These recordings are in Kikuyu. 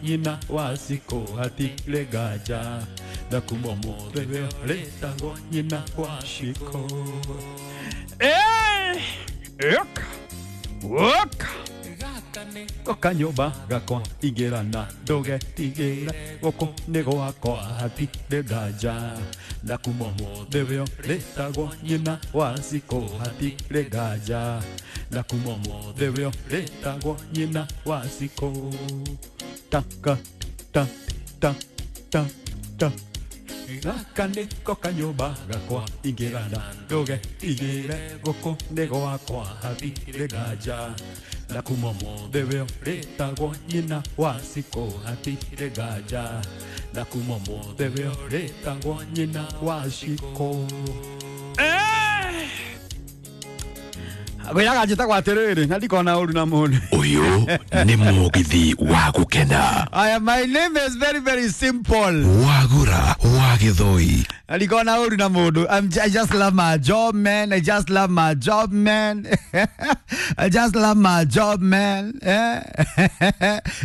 nyina wa Cikũ hatirĩ nganja na kuma ũmũthĩ we ũrĩtagwo nyina wa Cikũ. Ĩka woka goka nyũmba gakwa ingĩra na ndũgetigĩre gũkũ nĩ gwakwa hatirĩ nganja na kuma ũmũthĩ we ũrĩtagwo nyina wa Cikũ hatirĩ nganja na kuma ũmũthĩ we ũrĩtagwo nyina wa Cikũ. Taka ta ta ta ta gaka nĩko kanyũmba gakwa ingĩra na ndũgetigĩre gũkũ nĩ gwakwa hatirĩ nganja na kuma ũmũthĩ we ũrĩtagwo nyina wa Cikũ hatirĩ nganja na kuma ũmũthĩ we ũrĩtagwo nyina wa Cikũ. Ngwĩraga njĩtagwo atĩrĩrĩ na ndikona ũru na mũndũ. Ũyũ nĩ mũgithi wa gũkena. Aya, my name is very very simple. Wagura wa Gĩthũi. Ndikona ũru na mũndũ. I just love my job, man. I just love my job, man. I just love my job, man.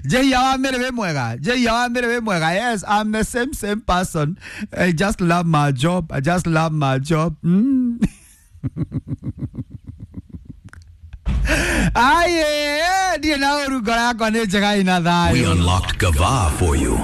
Njehia wa Mĩrĩ wĩ mwega. Njehia wa Mĩrĩ wĩ mwega. Yes, I'm the same person. I just love my job. I just love my job. Aye, ndirĩ na ũru, ngoro yakwa nĩ njega ina thayũ. We unlocked Gava for you.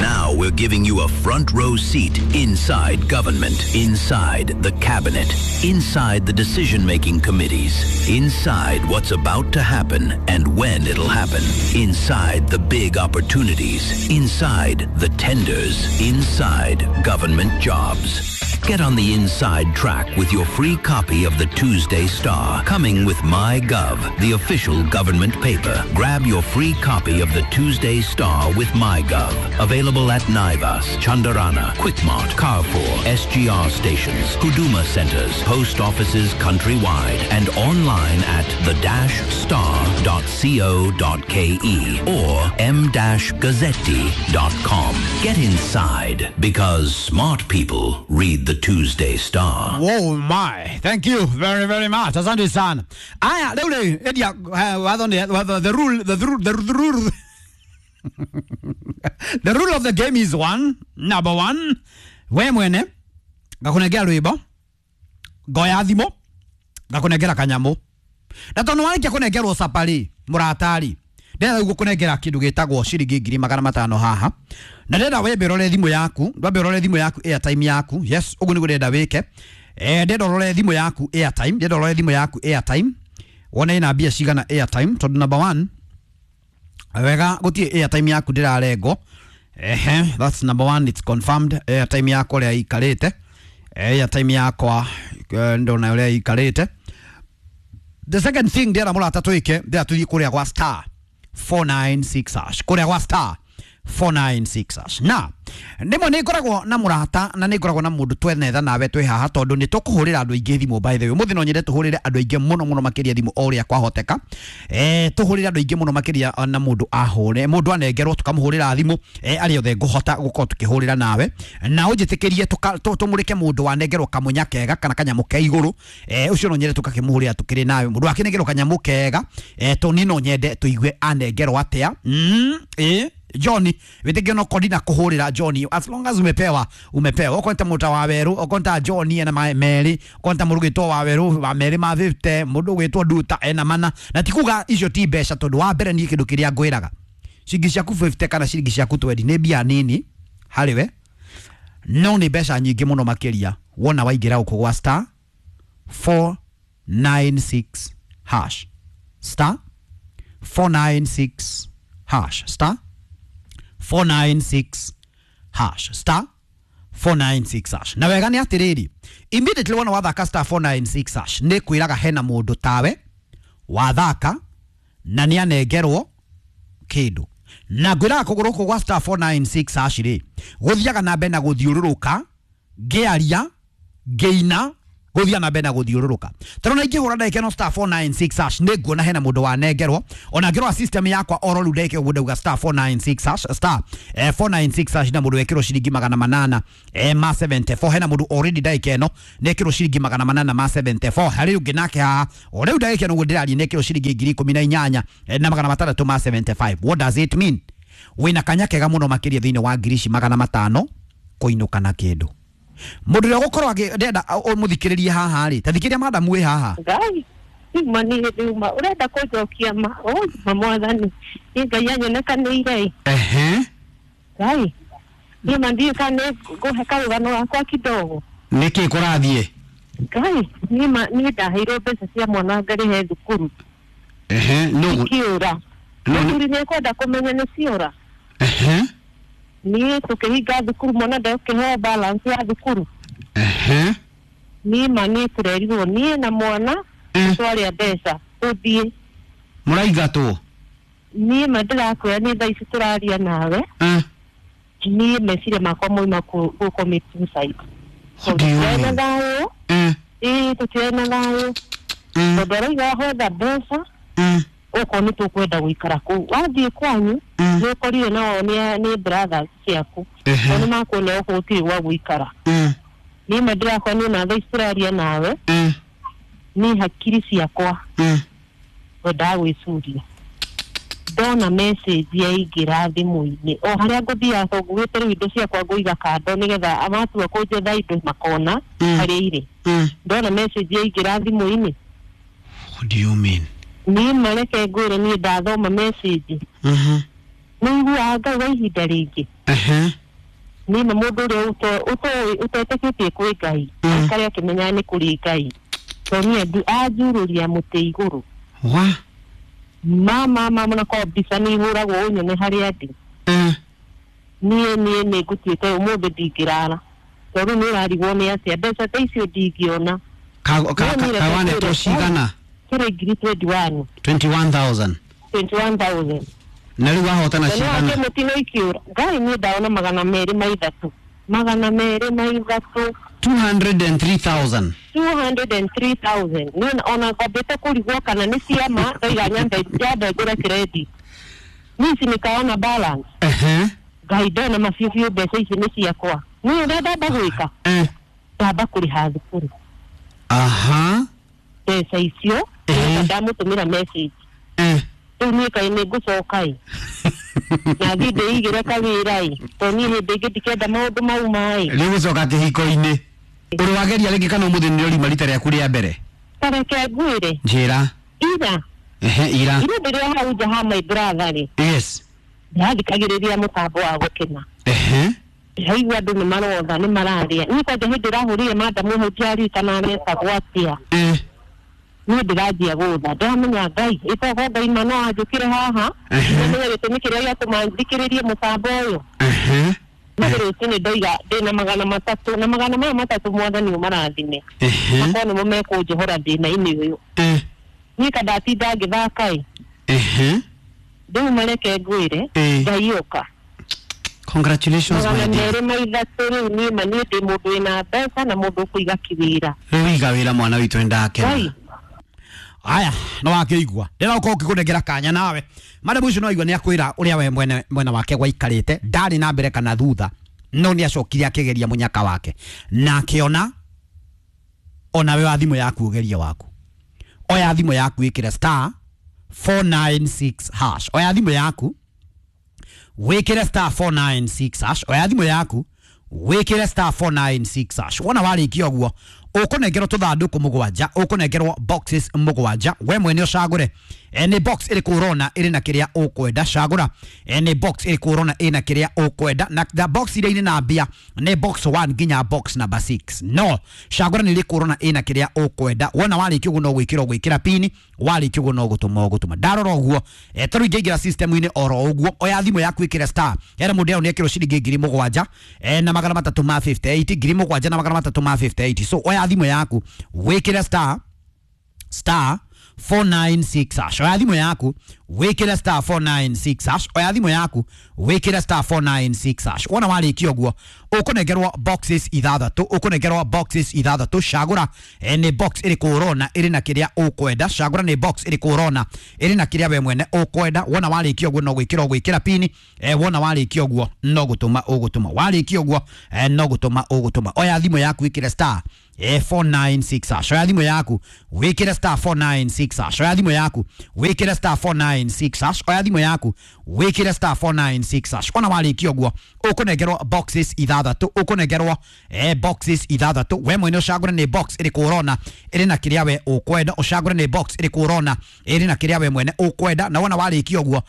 Now we're giving you a front row seat inside government, inside the cabinet, inside the decision-making committees, inside what's about to happen and when it'll happen, inside the big opportunities, inside the tenders, inside government jobs. Get on the inside track with your free copy of the Tuesday Star, coming with MyGov, the official government paper. Grab your free copy of the Tuesday Star with MyGov. Available at Naivas, Chandarana, Quickmart, Carrefour, SGR stations, Huduma centers, post offices countrywide, and online at the-star.co.ke or m-gazzetti.com. Get inside, because smart people read the Tuesday Star. Oh my, thank you very very much. Asante sana. Aya, rĩu rĩ, endia watho nĩ watho, the rule the rule the rule the rule of the game is one, number one, we mwene ngakũnengera rwĩmbo, ngoya thimũ ngakũnengera kanyamũ, na tondũ warĩkia kũnengerwo caparĩ mũratari, ndĩrenda rĩu gũkũnengera kĩndũ gĩtagwo ciringi 500,000 haha, na ndĩrenda wembe ũrore thimũ yaku, wambe ũrore thimũ yaku airtime yaku. Yes, ũguo nĩguo ndĩrenda wĩke. Ndĩrenda ũrore thimũ yaku airtime, ndĩrenda ũrore thimũ yaku airtime wone ĩna mbia cigana airtime, tondũ number one wega gũtirĩ airtime yaku ndĩrarengwo. Ehe, that's number one, it's confirmed. Airtime yakwa ũrĩa ĩikarĩte, airtime yakwa ndona ũrĩa ĩikarĩte. The second thing ndĩrenda mũrata twĩke, ndĩrenda tũthiĩ kũrĩa gwa star 496 hash, kũrĩa gwa star 496 hash. Na ndĩmwe nĩ ngoragwo na mũrata na nĩ ngoragwo na mũndũ twenetha nawe twĩ haha, tondũ nĩ tũkũhũrĩra andũ aingĩ thimũ. By the way, ũmũthĩ no nyende tũhũrĩre andũ aingĩ mũno mũno makĩria thimũ o ũrĩa kwahoteka. Tũhũrĩre andũ aingĩ mũno makĩria, na mũndũ ahũre, mũndũ anengerwo tũkamũhũrĩra thimũ, arĩa othe ngũhota gũkorwo tũkĩhũrĩra nawe, na ũnjĩtĩkĩrie tũmũrĩke mũndũ wanengerwo kamũnya kega kana kanyamũ ke igũrũ. Ũcio no nyende tũgakĩmũhũrĩra tũkĩrĩ nawe. Mũndũ akĩnengerwo kanyamũ kega, tũ no nyende tũigue anengerwo atĩa. Johnny, wĩtĩkio no kondi na kũhũrĩra Johnny, as long as umepewa umepewa. Okorwo nĩ ta mũta wa werũ, okorwo nĩ ta Johnny ena merĩ, okorwo nĩ ta mũndũ ũgwĩtwo wa werũ wa merĩ ma 50, mũndũ ũgwĩtwo Nduta ena mana, na ti kuga icio ti mbeca, tondũ wa mbere niĩ kĩndũ kĩrĩa ngwĩraga, ciringi ciaku 50 kana ciringi ciaku 20 nĩ mbia nini harĩ we, no nĩ mbeca nyingĩ mũno makĩria wona waingĩra gũkũ gwa star 496 hash, star 496 hash, star 496 hash, star 496 hash. Na wega nĩ atĩrĩrĩ, immediately wona wathaka star 496 hash, nĩ kwĩraga hena mũndũ tawe wathaka na nĩ anengerwo kĩndũ. Na ngwĩraga kũgũrũ kũu gwa star 496 hash rĩ, gũthiaga na mbere na gũthiũrũrũka, ngĩaria, ngĩina, gũthiaga na mbere na gũthiũrũrũka. Tondũ na ingĩhũra ndagĩka ĩno star 496 hash, nĩ nguona hena mũndũ wanengerwo. Ona ngĩrora system yakwa oro rĩu ndagĩka ũguo ndauga star 496 hash, star 496 hash, na mũndũ wekĩrwo ciringi 800 ma 74. Hena mũndũ already ndagĩka ĩno nĩekĩrwo ciringi 800 ma 74. Harĩ ũngĩ nake haha o rĩu ndagĩka ĩno ũguo ndĩraria nĩekĩrwo ciringi 18,600 ma 75. What does it mean? Wĩna kanya kega mũno makĩria thĩinĩ wa ngiri ici magana matano kũinũka na kĩndũ. Mũndũ ũrĩa ũgũkorwo ndĩrenda ũmũthikĩrĩrie haha rĩ, ta thikĩrĩria madamu wĩ haha. Ngai uma nĩ hĩndĩ uma ũrenda kũnjokia ma ma mwathani nĩ Ngai anyonekanĩire. Ehe. Ngai niĩ ma ndiũĩ kana nĩ ngũhe karũgano gakwa kidogo. Nĩkĩ kũrathiĩ? Ngai niĩ ma niĩ ndaheirwo mbeca cia mwana ngarĩhe thukuru. Ehe, nũ ikiũra. Mũthuri nĩ ekwenda kũmenya nĩ ciora. Ehe. Niĩ tũkĩhinga thukuru mwana ndekũheo balance ya thukuru. Ehe. Niĩ ma niĩ tũrerirwo niĩ na mwana twarĩa mbeca tũthiĩ. Mũraingatwo? Niĩ ma ndĩrakwĩra niĩ thaa ici tũraria nawe. Niĩ meciria makwa moima kũ commit suicide. Tũtirĩ na thayũ. Ĩĩ tũtirĩ na thayũ. Tondũ arauga hotha mbeca okorwo nĩ tũkwenda gũikara kũu wathiĩ kwanyu nĩ ũkorire nao nĩ brothers ciaku tondũ nĩ makuona gũkũ gũtirĩ gwa gũikara. Niĩ ma ndĩrakora niĩ na thaa ici tũraria nawe niĩ hakiri ciakwa ngwendaga gwĩcuria ndona message yaingĩra thimũ-inĩ o harĩa ngũthiaga tondũ ngugĩte rĩu indo ciakwa ngũiga kando nĩgetha matua kũnjetha indo makona harĩa irĩ. Ndona message yaingĩra thimũ-inĩ. What do you mean? Niĩ mareke ngwĩre niĩ ndathoma message. Nĩ iguaga Ngai wa ihinda rĩngĩ. Niĩ na mũndũ ũrĩa ũtetĩkĩtie kwĩ Ngai aikare akĩmenyaga nĩ kũrĩ Ngai tondũ niĩ anjurũria mũtĩ igũrũ. Wa? Mama mama na kwa mbica nĩ ihũragwo ũnyone harĩa ndĩ. Niĩ niĩ nĩ ngũtuĩte ũmũthĩ ndingĩrara tondũ nĩ ũrarigwo nĩ atĩa mbeca ta icio ndingĩona. Kawanetwo cigana? Tũrĩ ngiri 21. 21,000. 21,000. Na rĩu wahotana cigana? Mũtino ikiũra Ngai niĩ ndaona magana merĩ ma ithatũ. Magana merĩ ma ithatũ. 203,000. 203,000. Niĩ ona ngwambĩte kũrigwo kana nĩ ciama ndaiga nyambe ngũre credit. Niĩ ici nĩkaona balance. Ngai ndona mabiũ biũ mbeca ici nĩ ciakwa. Niĩ ũrĩa ndamba gwĩka ndamba kũrĩha thukuru. Aha. Mbeca icio ndamũtũmĩra message. Rĩu niĩ kaĩ nĩ ngũcoka ĩ na thiĩ ndĩigĩre kawĩra ĩ tondũ niĩ hĩndĩ ĩngĩ ndikenda maũndũ mau maĩ. Rĩu gũcoka kĩhiko-inĩ ũrĩ wageria rĩngĩ kana ũmũthĩ nĩ ũrima rita rĩaku rĩa mbere? Ta reke ngwĩre. Njĩra. Ira. Ehe, ira. Ira ndĩrĩ hau nja ha my brother rĩ. Yes. Ndĩrathikagĩrĩria mũtambo wa gũkena. Ehe. Ndĩraigua andũ nĩ marotha nĩ mararĩa. Niĩ kwanja hĩndĩ ĩrahũrire madamu hau ndiaririkana aretagwo atĩa. Niĩ ndĩranjia gũtha ndĩramenya Ngai ĩtogo Ngai ma no anjũkĩre haha ndĩramenya gĩtũmi kĩrĩa gĩatũma thikĩrĩrie mũtambo ũyũ. Mathĩ rũcinĩ ndoiga ndĩna magana matatũ na magana maya matatũ mwathani ũmarathime makorwo nĩmo mekũnjohora thĩna-inĩ ũyũ. Niĩ ka ndatinda ngĩthaka ĩ rĩu mareke ngwĩre Ngai ũka. Congratulations my dear. Magana merĩ ma ithatũ rĩu niĩ ma niĩ ndĩ mũndũ wĩna mbeca na mũndũ ũkũiga kĩwĩra. Rĩu iga wĩra mwana witũ nĩndakena. Aya no wakĩigua ndĩra ũkorwo ũkĩkũnengera kanya nawe madamu ũcio no aigua nĩ akwĩra ũrĩa we mwene mwena wake gwaikarĩte ndarĩ na mbere kana thutha no nĩ acokire akĩgeria mũnyaka wake na akĩona onawe wa thimũ yaku ũgerie waku. Oya thimũ yaku ĩkĩre star 496 hash. Oya thimũ yaku wĩkĩre star 496 hash. Oya thimũ yaku wĩkĩre star 496 hash. Wona warĩkia ũguo ũkũnengerwo tũthandũkũ mũgwanja ũkũnengerwo boxes mũgwanja we mwene ũcagũre nĩ box ĩrĩkũ ũrona ĩrĩ na kĩrĩa ũkwenda. Cagũra nĩ box ĩrĩkũ ũrona ĩna kĩrĩa ũkwenda na box iria irĩ na mbia nĩ box 1 nginya box number 6. No cagũra nĩ ĩrĩkũ ũrona ĩna kĩrĩa ũkwenda. Wona warĩkia ũguo no gwĩkĩra ũgwĩkĩra pini warĩkia ũguo no gũtũma ũgũtũma. Ndarora ũguo tarĩu ingĩingĩra system-inĩ oro ũguo oya thimũ yaku ĩkĩre star hena mũndũ nĩ ekĩrwo ciringi ngiri mũgwanja na magana matatũ ma 58 ngiri mũgwanja na magana matatũ ma 58. So oya thimũ yaku wĩkĩre star star 496 hash. Oya thimũ yaku wĩkĩre star 496 hash. Oya thimũ yaku wĩkĩre star 496 hash. Wona warĩkia ũguo ũkũnengerwo boxes ithathatũ ũkũnengerwo boxes ithathatũ. Cagũra nĩ box ĩrĩkũ ũrona ĩrĩ na kĩrĩa ũkwenda. Cagũra nĩ box ĩrĩkũ ũrona ĩrĩ na kĩrĩa we mwene ũkwenda. Wona warĩkia ũguo no gwĩkĩra ũgwĩkĩra pini wona warĩkia ũguo no gũtũma ũgũtũma. Warĩkia ũguo no gũtũma ũgũtũma. Oya thimũ yaku ĩkĩre star 496 hash. Oya thimũ yaku wĩkĩre star 496 hash. Oya thimũ yaku wĩkĩre star 496 496 hash. Oya thimũ yaku wĩkĩre star 496 hash. Ona warĩkia ũguo ũkũnengerwo boxes ithathatũ, ũkũnengerwo boxes ithathatũ. We mwene ũcagũre nĩ box ĩrĩkũ ũrona ĩrĩ na kĩrĩa we ũkwenda, ũcagũre nĩ box ĩrĩkũ ũrona ĩrĩ na kĩrĩa we mwene ũkwenda. Na wona warĩkia ũguo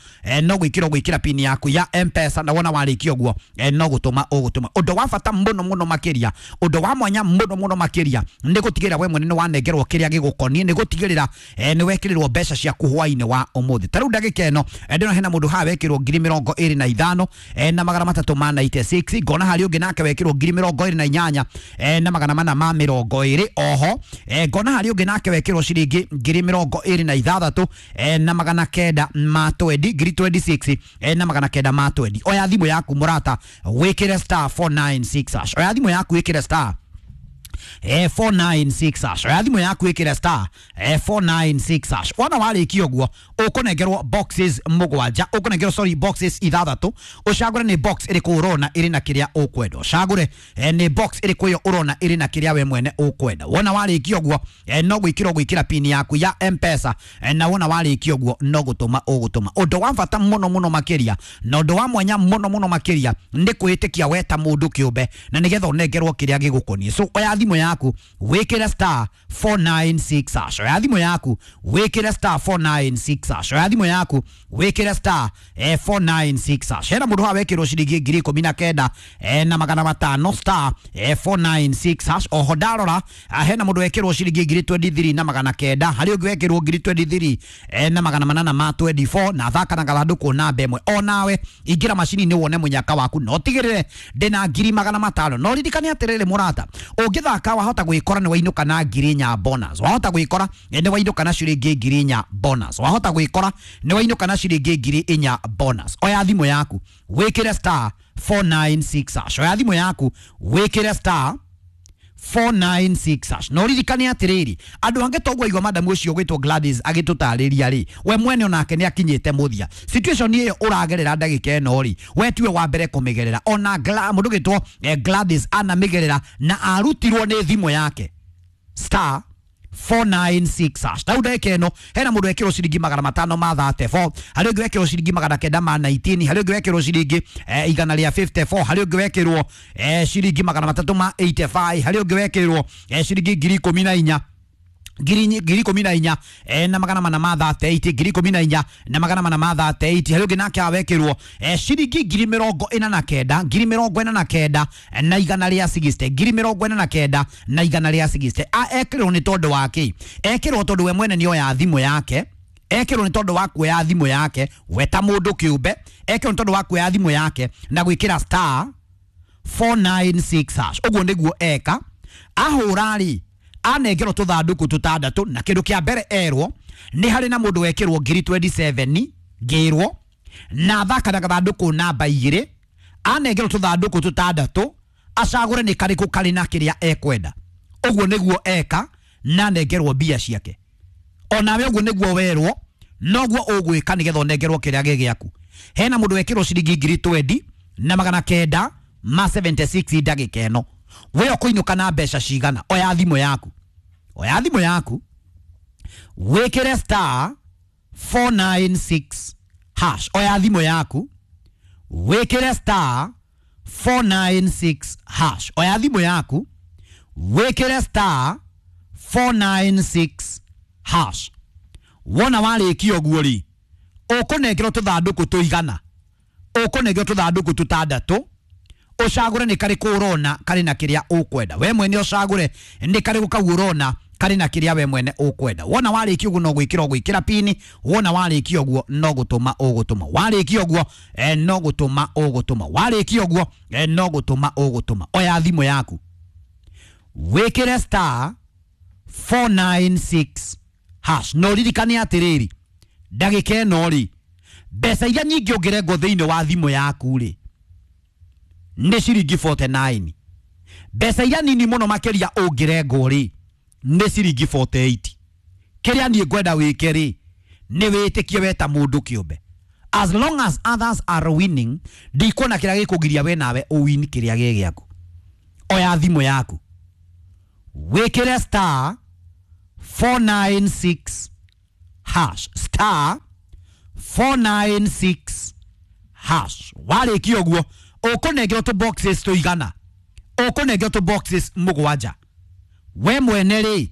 no gwĩkĩra ũgwĩkĩra pin yaku ya M-Pesa, na wona warĩkia ũguo no gũtũma ũgũtũma. Ũndũ wa bata mũno mũno makĩria, ũndũ wa mwanya mũno mũno makĩria nĩ gũtigĩrĩra we mwene nĩ wanengerwo kĩrĩa gĩgũkoniĩ, nĩ gũtigĩrĩra nĩ wekĩrĩrwo mbeca ciaku hwainĩ wa ũmũthĩ. Ta rĩu ndagĩka ĩno ndĩrona hena mũndũ haha wekĩrwo 25,396 ngona harĩ ũngĩ nake wekĩrwo 28,420 oho ngona harĩ ũngĩ nake wekĩrwo ciringi 26,920 26 na 920. Oya thimũ yaku mũrata wĩkĩre star 496 hash. Oya thimũ yaku wĩkĩre star 496 hash. Oya thimũ yaku ĩkĩre star 496 hash. Wona warĩkia ũguo ũkũnengerwo boxes mũgwanja, ũkũnengerwo sorry boxes ithathatũ, ũcagũre nĩ box ĩrĩkũ ũrona ĩrĩ na kĩrĩa ũkwenda, ũcagũre nĩ box ĩrĩkũ ĩyo ũrona ĩrĩ na kĩrĩa we mwene ũkwenda. Wona warĩkia ũguo no gwĩkĩra ũgwĩkĩra pin yaku ya M-Pesa, na wona warĩkia ũguo no gũtũma ũgũtũma. Ũndũ wa bata mũno mũno makĩria na ũndũ wa mwanya mũno mũno makĩria nĩ kwĩĩtĩkia we ta mũndũ kĩũmbe, na nĩgetha ũnengerwo kĩrĩa gĩgũkoniĩ. So oya thimũ yaku wĩkĩre star 496 hash. Oya thimũ yaku wĩkĩre star 496 hash. Oya thimũ yaku wĩkĩre star 496 hash. Hena mũndũ haha wekĩrwo ciringi 19,500 star 496 hash. Oho ndarora hena mũndũ wekĩrwo ciringi 23,900, harĩ ũngĩ wekĩrwo 23,824 na thaka na gathandũkũ namba ĩmwe. Onawe ingĩra macini-inĩ wone mũnyaka waku, no tigĩrĩre ndĩna 500,000. No ririkane atĩrĩrĩ mũrata, ũngĩthaka wahota gwĩkora nĩ wainũka na 4,000 bonus, wahota gwĩkora nĩ wainũka na ciringi 4,000 bonus, wahota gwĩkora nĩ wainũka na ciringi 4,000 bonus. Oya thimũ yaku wĩkĩre star 496 hash. Oya thimũ yaku wĩkĩre star 496 hash. No ririkane atĩrĩrĩ, andũ angĩ toguo igua madamu ũcio ũgwĩtwo Gladys agĩtũtarĩria rĩ, we mwene onake nĩ akinyĩte mũthia. Situation ĩyo ũragerera ndagĩka ĩno rĩ, we tiwe wa mbere kũmĩgerera. Ona mũndũ ũgwĩtwo Gladys anamĩgerera na arutirwo nĩ thimũ yake star 496 hash. Tau ndagĩka ĩno hena mũndũ wekĩrwo ciringi 534, harĩ ũngĩ wekĩrwo ciringi 919, harĩ ũngĩ wekĩrwo ciringi 154, harĩ ũngĩ wekĩrwo ciringi 385, harĩ ũngĩ wekĩrwo ciringi 14,000 14,438, 14,438, harĩ ũngĩ nake awekĩrwo ciringi 49,000 49,160 49,160. Ekĩrwo nĩ tondũ wa kĩ? Ekĩrwo tondũ we mwene nĩ oya thimũ yake, ekĩrwo nĩ tondũ wa kuoya thimũ yake we ta mũndũ kĩũmbe, ekĩrwo nĩ tondũ wa kuoya thimũ yake na gwĩkĩra star 496 hash. Ũguo nĩguo eka ahũra rĩ, anengerwo tũthandũkũ tũtandatũ, na kĩndũ kĩa mbere erwo nĩ harĩ na mũndũ wekĩrwo 27,000 ngĩrwo na thaka na gathandũkũ namba 2, anengerwo tũthandũkũ tũtandatũ acagũre nĩ karĩkũ karĩ na kĩrĩa ekwenda. Ũguo nĩguo eka na anengerwo mbia ciake. Onawe ũguo nĩguo werwo noguo ũgwĩka nĩgetha ũnengerwo kĩrĩa gĩ gĩaku. Hena mũndũ wekĩrwo ciringi 20,976 ndagĩka ĩno. We ũkũinũka na mbeca cigana? Oya thimũ yaku, oya thimũ yaku wĩkĩre star 496 hash. Oya thimũ yaku wĩkĩre star 496 hash. Oya thimũ yaku wĩkĩre star 496 hash. Wona warĩkia ũguo rĩ, ũkũnengerwo tũthandũkũ tũigana, ũkũnengerwo tũthandũkũ tũtandatũ, ũcagũre nĩ karĩkũ ũrona karĩ na kĩrĩa ũkwenda. We mwene ũcagũre nĩ karĩkũ kau ũrona karĩ na kĩrĩa we mwene ũkwenda. Wona warĩkia ũguo no gwĩkĩra ũgwĩkĩra pini, wona warĩkia ũguo no gũtũma ũgũtũma, warĩkia ũguo no gũtũma ũgũtũma, warĩkia ũguo no gũtũma ũgũtũma. Oya thimũ yaku wĩkĩre star 496 hash. No ririkane atĩrĩrĩ, ndagĩka ĩno rĩ, mbeca iria nyingĩ ũngĩrengwo thĩinĩ wa thimũ yaku rĩ nĩ ciringi 49. Mbeca iria nini mũno makĩria ũngĩrengwo rĩ nĩ ciringi 48. Kĩrĩa niĩ ngwenda wĩke rĩ nĩ wĩtĩkie we ta mũndũ kĩũmbe. As long as others are winning, ndikuona kĩrĩa gĩkũgiria we nawe ũwin kĩrĩa gĩ gĩaku. Oya thimũ yaku wĩkĩre star 496 hash, star 496 hash. Warĩkia ũguo ũkũnengerwo tũ boxes tũigana, ũkũnengerwo tũ boxes mũgwanja. We mwene rĩ,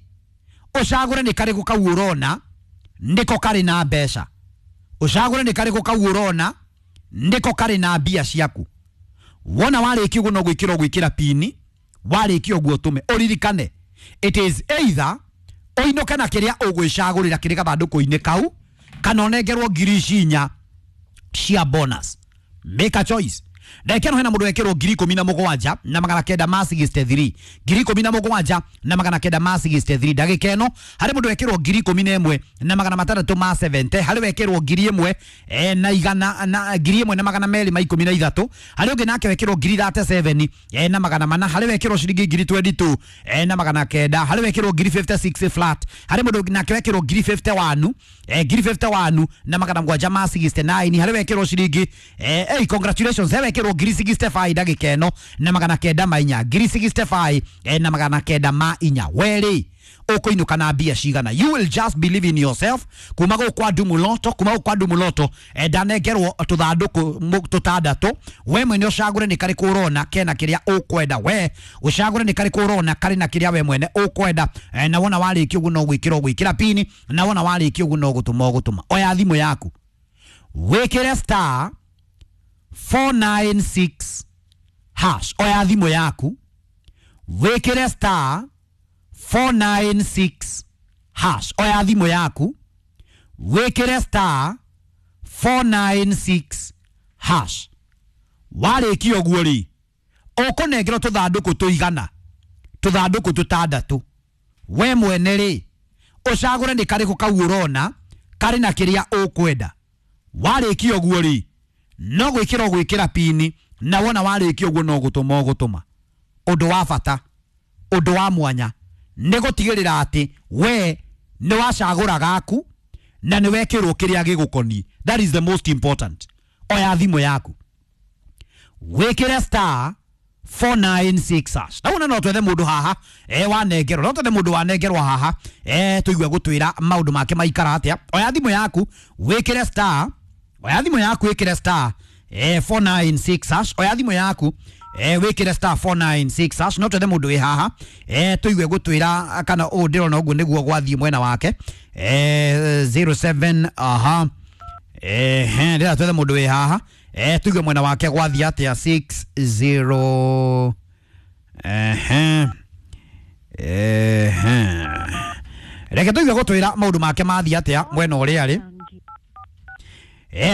ũcagũre nĩ karĩkũ kau ũrona nĩko karĩ na mbeca, ũcagũre nĩ karĩkũ kau ũrona nĩko karĩ na mbia ciaku. Wona warĩkia ũguo no gwĩkĩra ũgwĩkĩra pini, warĩkia ũguo ũtũme. Ũririkane it is either ũinũke na kĩrĩa ũgwĩcagũrĩra kĩrĩ gathandũkũ-inĩ kau, kana ũnengerwo 4,000 cia bonus. Make a choice. Ndagĩka ĩno hena mũndũ wekĩrwo 17,963, 17,963. Ndagĩka ĩno harĩ mũndũ wekĩrwo 11,670, harĩ wekĩrwo 1,000 na igana na 1,213, harĩ ũngĩ nake wekĩrwo 37 na 400, harĩ wekĩrwo ciringi 22 na 900, harĩ wekĩrwo 56 flat, harĩ mũndũ nake wekĩrwo 51 51 na 769, harĩ wekĩrwo ciringi hey, congratulations, he wekĩrwo 65 ndagĩka ĩno na 904, 65 na 904. Werĩ ũkũinũka na mbia cigana? You will just believe in yourself. Kuma gũkũ kwa Ndumuloto, kuma gũkũ kwa Ndumuloto, ndanengerwo tũthandũkũ tũtandatũ. We mwene ũcagũre nĩ karĩkũ ũrona kena kĩrĩa ũkwenda. We ũcagũre nĩ karĩkũ ũrona karĩ na kĩrĩa we mwene ũkwenda. Na wona warĩkia ũguo no gwĩkĩra ũgwĩkĩra pini, na wona warĩkia ũguo no gũtũma ũgũtũma. Oya thimũ yaku wĩkĩre star 496 hash. Oya thimũ yaku wĩkĩre star 496 hash. Oya thimũ yaku wĩkĩre star 496 hash. Warĩkia ũguo rĩ, ũkũnengerwo tũthandũkũ tũigana, tũthandũkũ tũtandatũ. We mwene rĩ, ũcagũre nĩ karĩkũ kau ũrona karĩ na kĩrĩa ũkwenda. Warĩkia ũguo rĩ, no gwĩkĩra ũgwĩkĩra pini, na wona warĩkia ũguo no gũtũma ũgũtũma. Ũndũ wa bata, ũndũ wa mwanya nĩ gũtigĩrĩra atĩ we nĩ wacagũra gaku na nĩ wekĩrwo kĩrĩa gĩgũkoniĩ. That is the most important. Oya thimũ yaku wĩkĩre star 496 hash. Na wona no twethe mũndũ haha wanengerwo, no twethe mũndũ wanengerwo haha tũigue gũtwĩra maũndũ make maikara atĩa. Oya thimũ yaku wĩkĩre star, oya thimũ yaku wĩkĩre star 496 hash. Oya thimũ yaku wĩkĩre star 496 hash. No twethe mũndũ wĩ haha tũigue gũtwĩra kana ũũ ndĩrona ũguo nĩguo gwathiĩ mwena wake 07 aha ndĩra twethe mũndũ wĩ haha tuigue mwena wake gwathiĩ atĩa 60 reke tũigue gũtwĩra maũndũ make mathiĩ atĩa mwena ũrĩa arĩ.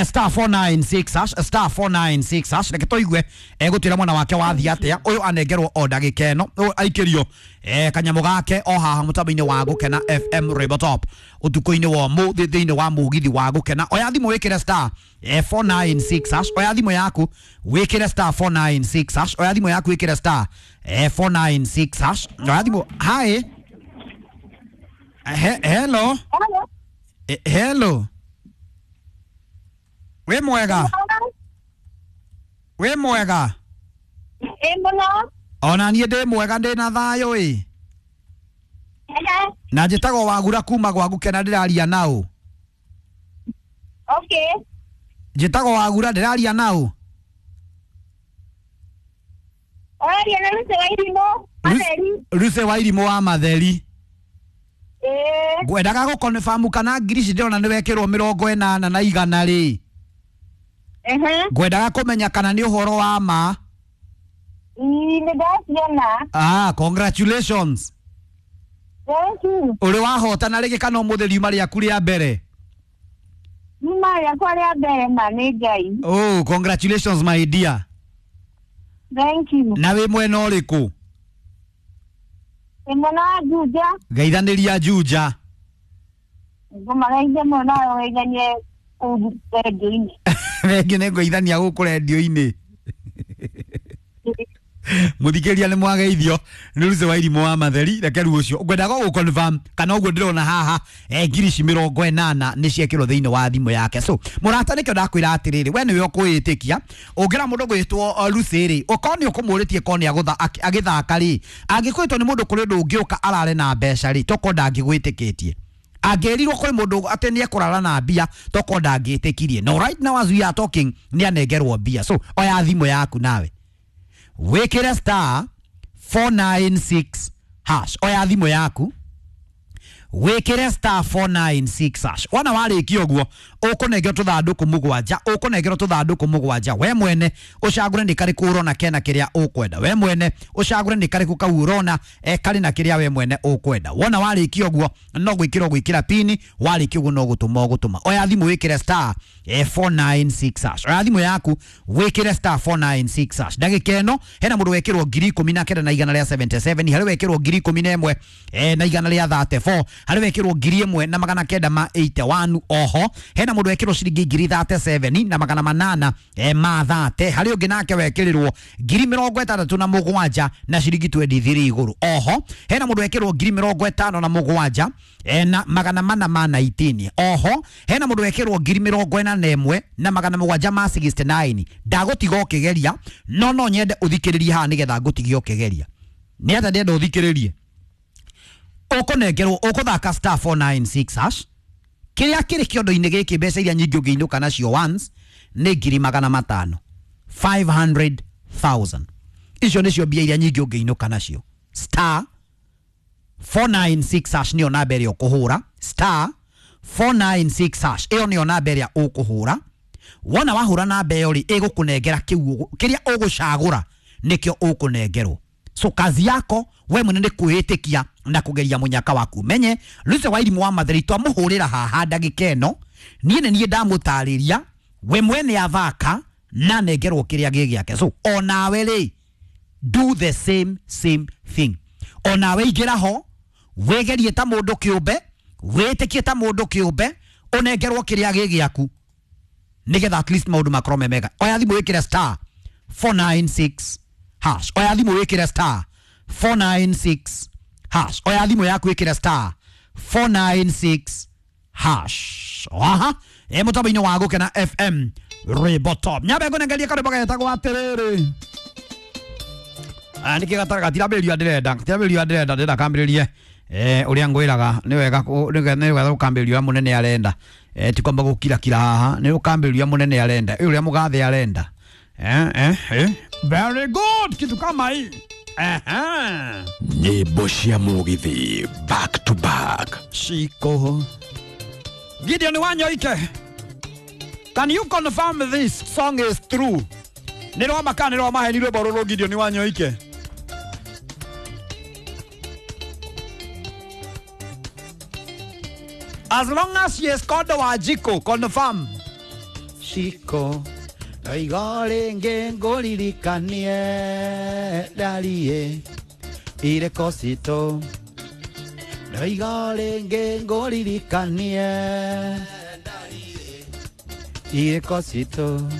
Star 496 hash, star 496 hash. Reke tũigue egũtwĩra mwena wake wathiĩ atĩa. Ũyũ anengerwo o ndagĩka ĩno, ũyũ aikĩrio kanyamũ gake o haha mũtambo-inĩ wa Gũkena FM Rainbow Top ũtukũ-inĩ wa ũmũthĩ thĩinĩ wa mũgithi wa Gũkena. Oya thimũ wĩkĩre star 496 hash. Oya thimũ yaku wĩkĩre star 496 hash. Oya thimũ yaku wĩkĩre star 496 hash. Oya thimũ. Hi. Hello. Hello. Wĩ mwega? Wĩ mwega? Ĩ mũno. Ona niĩ ndĩ mwega, ndĩ na thayũ ĩ. Na njĩtagwo Wagura kuma gwa Gũkena, ndĩraria naũ. Okay. Njĩtagwo Wagura, ndĩraria naũ. Ũraria na Lucy wa Irimũ Matheri. Lucy wa Irimũ wa Matheri. Ĩĩ. Ngwendaga gũkonfamu kana ngiri ici ndĩrona nĩ wekĩrwo 80 na 100 rĩ. Ngwendaga kũmenya kana nĩ ũhoro wa ma. Nĩ ndaciona. Ah, congratulations. Thank you. Ũrĩ wahotana rĩngĩ kana ũmũthĩ riuma rĩaku rĩa mbere? Riuma rĩakwa rĩa mbere ma nĩ Ngai. Oh, congratulations my dear. Thank you. Na wĩ mwena ũrĩkũ? Wĩ mwena wa Juja. Geithanĩria Juja. Ngũmageithia mũno nawe ũgeithanie kũu rendio-inĩ. Rĩngĩ nĩ ngũgeithania gũkũ rendio-inĩ. Mũthikĩria nĩ mwageithio nĩ Lucy wa Irimũ wa Matheri. Reke rĩu ũcio ngwendaga gũ confirm kana ũguo ndĩrona haha ngiri ici 80 nĩ ciekĩrwo thĩinĩ wa thimũ yake. So mũrata, nĩkĩo ndakwĩra atĩrĩrĩ, we nĩwe ũkwĩĩtĩkia. Ũngĩra mũndũ gwĩtwo Lucy rĩ, ũkorwo nĩ ũkũmũrĩtie korwo nĩ agĩthaka rĩ, angĩkwĩtwo nĩ mũndũ kũrĩ ũndũ ũngĩũka arare na mbeca rĩ, tokorwo ndangĩgwĩtĩkĩtie. Angĩrirwo kũrĩ mũndũ atĩ nĩ ekũrara na mbia toko ndangĩtĩkirie. No right now as we are talking nĩ anengerwo mbia. So oya thimũ yaku nawe wĩkĩre star 496 hash. Oya thimũ yaku wĩkĩre star 496 hash. Wona warĩkia ũguo ũkũnengerwo tũthandũkũ mũgwanja, ũkũnengerwo tũthandũkũ mũgwanja. We mwene ũcagũre nĩ karĩkũ ũrona kena kĩrĩa ũkwenda. We mwene ũcagũre nĩ karĩkũ kau ũrona karĩ na kĩrĩa we mwene ũkwenda. Wona warĩkia ũguo no gwĩkĩra ũgwĩkĩra pini, warĩkia ũguo no gũtũma ũgũtũma. Oya thimũ wĩkĩre star 496 hash. Oya thimũ yaku wĩkĩre star 496 hash. Ndagĩka ĩno hena mũndũ wekĩrwo 19,177, harĩ wekĩrwo 11,100 na igana rĩa 34, harĩ wekĩrwo 1,981. Oho hena mũndũ wekĩrwo ciringi 37,800 na magana manana ma 30, harĩ ũngĩ nake wekĩrĩrwo 67,000 na ciringi 23 igũrũ. Oho hena mũndũ wekĩrwo 57,000 na magana mana ma 19. Oho hena mũndũ wekĩrwo 41,769 na magana mũgwanja ma 69. Ndagũtiga ũkĩgeria no no nyende ũthikĩrĩrie haha nĩgetha ngũtigie ũkĩgeria. Nĩ atĩa ndĩrenda ũthikĩrĩrie? Ũkũnengerwo ũkũthaka star 496 hash. Kĩrĩa kĩrĩ kĩondo-inĩ gĩkĩ mbeca iria nyingĩ ũngĩinũka nacio once nĩ 500,000, 500,000. Icio nĩcio mbia iria nyingĩ ũngĩinũka nacio. Star 496 hash nĩyo namba ĩrĩa ũkũhũra. Star 496 hash ĩyo nĩyo namba ĩrĩa ũkũhũra. Wona wahũra namba ĩyo rĩ, ĩgũkũnengera kĩu kĩrĩa ũgũcagũra nĩkĩo ũkũnengerwo. So kazi yako we mwene nĩ kwĩĩtĩkia na kũgeria mũnyaka waku. Menye Lucy Wairimu wa Matheri twamũhũrĩra haha ndagĩka ĩno, niĩ nĩ niĩ ndamũtarĩria we mwene athaka na nengerwo kĩrĩa gĩ gĩake. So onawe rĩ, do the same thing. Onawe ingĩra ho wĩgerie ta mũndũ kĩũmbe, wĩtĩkie ta mũndũ kĩũmbe, ũnengerwo kĩrĩa gĩ gĩaku nĩgetha at least maũndũ makorwo me mega. Oya thimũ wĩkĩre star 496 hash. Oya thimũ wĩkĩre star 496 hash. Oya thimũ yaku wĩkĩre star 496 hash. Aha, mũtambo-inĩ wa Gũkena FM Ribotop. Nyambe ngũnengerie karwĩmbo getagwo atĩrĩrĩ. Nĩkĩ gatirambĩrĩrio ndĩrenda, gatirambĩrĩrio ndĩrenda, ndĩrenda kambĩrĩrie ũrĩa ngwĩraga nĩ wega nĩ wega gũkambĩrĩria ũrĩa mũnene arenda. Ti kwamba gũkirakira haha, nĩ gũkambĩrĩria mũnene arenda, ũrĩa mũgathe arenda. Very good, kitu kama hii. Nyimbo cia mũgithi back to back. Shiko Gideon Wanyoike, can you confirm this song is true? Nĩ rwa kana nĩ rwa maheni rwĩmbo rũrũ Gideon Wanyoike? As long as she is called Wanjiko, confirm. Shiko Ndoiga rĩngĩ ngũririkanie ndarie ireko citũ. Ndoiga rĩngĩ ngũririkanie ireko citũ.